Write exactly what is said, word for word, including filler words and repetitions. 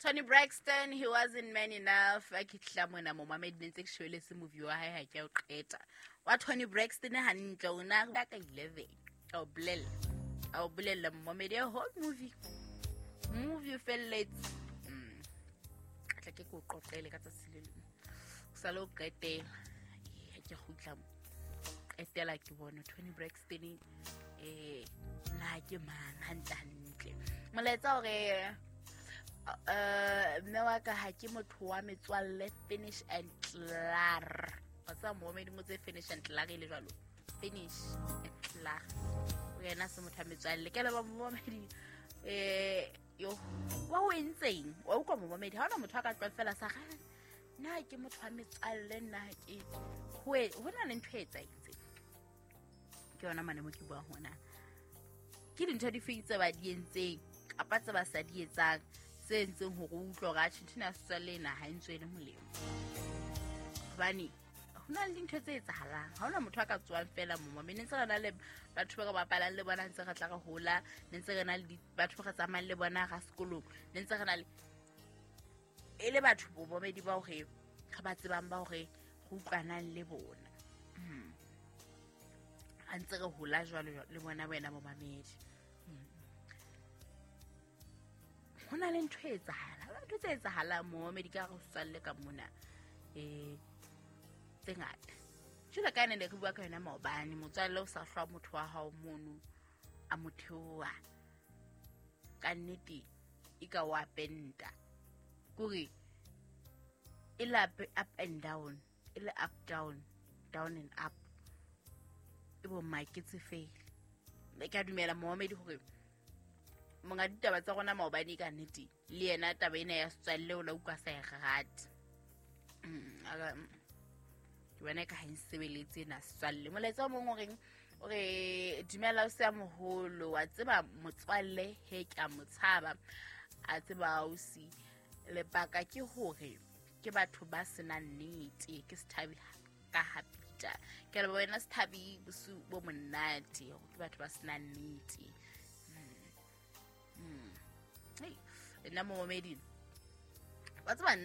Toni Braxton, he wasn't man enough. A ke tla mona momamedi, ne ntse ke shebeletse movie wa hae, ha ke a o qeta wa Toni Braxton hantle. O na ka eleven, a o bolella a o bolella momamedi, a whole movie movie o felletse. Mm. Tla ke ko qoqele ka tsatsi le leng, o sale o qetela. Ha ke kgutla mo qetela, ke bone Toni Braxton eh na ke mang hantle hantle. Molaetsa hore eh mme wa ka, ha ke motho wa metswalle, finish and klaar. Wa tseba momedi mo tse finish and klaar e le jwalo, finish and klaar. O yena se motho wa metswalle. Ke leba momedi eh yo wa o entseng wa utlwa momedi. Ha ona motho a ka tloha fela sa ga nna ke motho wa metswalle, nna ke ho ho na le ntho e etsahetseng. Ke yona mane mo ke buang hona, ke dintho di feng tse ba di entseng kapa tse ba sa di etsang tse entseng hore o utlwe hore atjhe, ntho ena ya setswalle ena ha e ntswele molemo? Hobane ho na le dintho tse etsahalang, ha hona motho a ka tswang fela momo. Mme ne ntse re na le batho ba re bapalang le bona, ntse re tla re hola, ne ntse re na le batho ba re tsamayang le bona ga sekolong, ne ntse re na le e le batho bomamedi ba hore re ba tsebang, ba hore re utlwanang le bona ha ntse re hola jwalo le bona. Wena momamedi, ho na le ntho e etsahala, ntho tse etsahalang momamedi ka re setswalle ka mona um tse ngata. Jwalo ka ene ne re bua ka yona maobane, motswalle o sa hlwa motho wa hao mono a mo theoha ka nnete, e ka wa penta kore e le up and down, e le up down, down and up, e bo maketse fela. Ke a dumela momamedi hore monga ditaba tsa rona maobane ka nnete le yena taba ena ya setswalle o la utlwa sa e rate. Ke bona ka ha e nsebeletse ena setswalle. Molaetsa o mong o reng, o re dumela o se a moholo wa tseba motswalle, he ke a mo tshaba a tseba ausi, lebaka ke hore ke batho ba senang nnete. Ke Sethabi ka hapita. Ke leboha wena Sethabi, bosiu bo monate. Ke batho ba senang nnete. Nna momamedi wa tseba nna